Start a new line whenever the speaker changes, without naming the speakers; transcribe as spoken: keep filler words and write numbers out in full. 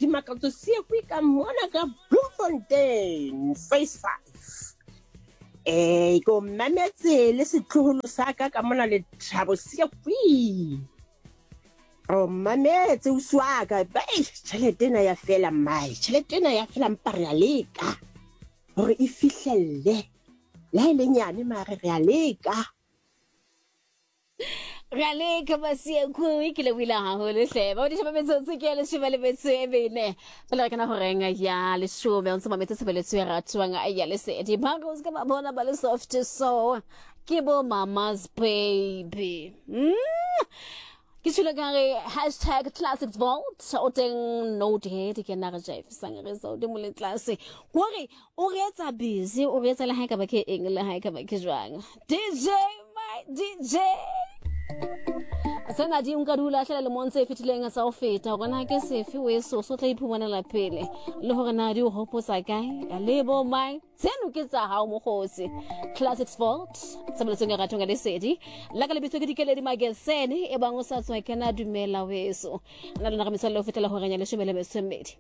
Dimakatso Seakwi ka mona ka Bloemfontein phase five. Eh ke o mametse le setloholo sa ka ka mona Lethabo Seakwi. O mametse ausi wa ka, tjhelete ena ya fela mmae, tjhelete ena ya fela mpa re a leka hore e fihlelle. Le ha e le nyane mare re a leka.
Re a leka Masiakui, ke lebohile haholo hle. Ba bodisha ba metsotso ke ya leshome le metso e mene. Pele re kena horeng ya leshome, o ntse mametse tshebeletso e ratwang ya Lesedi. Ba re o se ka ba bona ba le soft so ke bo mama's baby. Mm. Ke tshwile ka re hashtag classics vault o teng note ke nna re jaifisang re sa godimo le tlase kore o re etsa busy o re etsa le ha e ka ba ke eng le ha e ka ba ke jwang. D J my D J sena di nka dula hlela lemong tse fetileng tsa ho feta hore na ke sefe o eso so tla iphumanela pele le hore na di o hopotsa kae le bo mang. Tseno ke tsa hao mokgotsi. Classics Vault tshebeletsong ya ratong ya Lesedi la ka lebitso ke Dikeledi Magesene e bang o sa tswa kena dumela weso na lona re metswalle ho fetela horeng ya leshome le metso e mmedi.